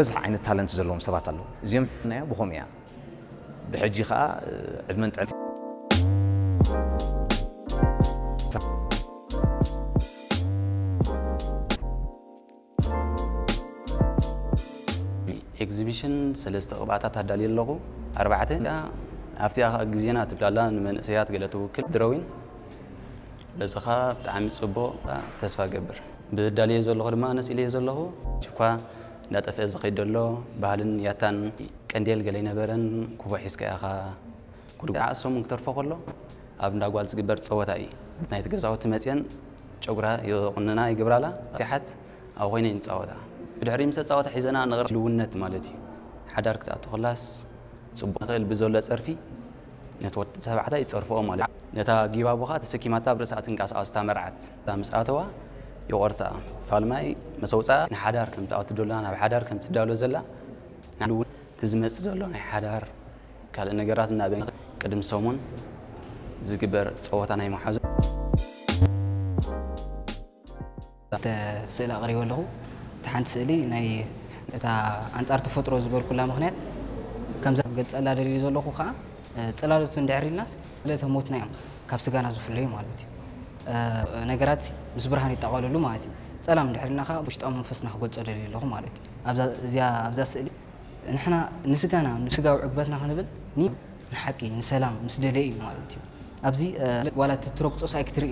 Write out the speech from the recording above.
ብዙሕ ዓይነት ታለንት ዘለዎም ሰባት ኣለዉ። እዚኦም ናዮ ብኸምኡ እያ። ብሕጂ ኸዓ ዕድመን ጥዕና ኤግዚቢሽን ሰለስተ ቅብኣታት ኣዳልየ ኣለኹ። ኣርባዕተ ኣብቲኣ ግዜና ትብላላ ንመንእሰያት ገለ ትውክል ድሮዊን በዚ ኸዓ ብጣዕሚ ጽቡቕ ተስፋ ገብር ብዳልየ ዘለኹ ድማ ነስ ኢለየ ዘለኹ እኳ እንዳጠፍአ ዝኸይድ ዘሎ ባህልን ያታን ቀንዴል ገለ ኣይነበረን ኩቦ ሒዝካ ኢኻ ኩሉ ዓእሶም ክተርፎ ከሎ ኣብ እንዳ ጓል ዝግበር ፀወታ እዩ ናይቲ ገዛውቲ መፅየን ጨጉራ ይቑንና ይግብራላ ፊሓት ኣብ ኮይነ ንፃወታ ብድሕሪ ምስ ተፃወታ ሒዘና ንቕር ልውነት ማለት እዩ ሓዳር ክትኣቱ ከላስ ፅቡቅ ክእል ብዘሎ ፀርፊ ነቲ ወዲ ተባዕታይ ይፀርፍኦ ማለት እዩ ነታ ጊባቦ ከዓ ተሰኪማታ ኣብ ርእሳ ትንቀሳቐስ እታ መርዓት እታ ምስ ኣተዋ ይቆርሳ ፋልማይ መሰውፃ ንሓዳር ከም ትኣቱ ዶላ ናብ ሓዳር ከም ትዳሎ ዘላ እቲ ዝመፅእ ዘሎ ናይ ሓዳር ካልእ ነገራት እናበ ቅድሚ ሰሙን ዝግበር ፀወታ ናይ መሓዙ ስእሊ ኣቕሪበ ኣለኹ። እቲ ሓንቲ ስእሊ ናይ እታ ኣንጻር ተፈጥሮ ዝበልኩላ ምኽንያት ከምዛ ገጸላ ደልዩ ዘለኹ ከዓ ጽላሎት እንድሕር ኢልናስ ዕለተ ሞትና እዮም ካብ ስጋና ዝፍለዩ ማለት እዩ። ነገራት ምስ ብርሃን ይጠቓለሉ ማለት እዩ። ጸላም እንድሕር ኢልና ከዓ ውሽጣዊ መንፈስና ክገልጾ ደልዩ ኣለኹ ማለት እዩ። ኣብዛ ስእሊ ንሕና ንስጋና ንስጋዊ ዕግበትና ክንብል ንሓቂ ንሰላም ምስ ደለየ እዩ ማለት እዩ። ኣብዚ ዋላ እቲ ትረግጾስ ኣይክትርኢ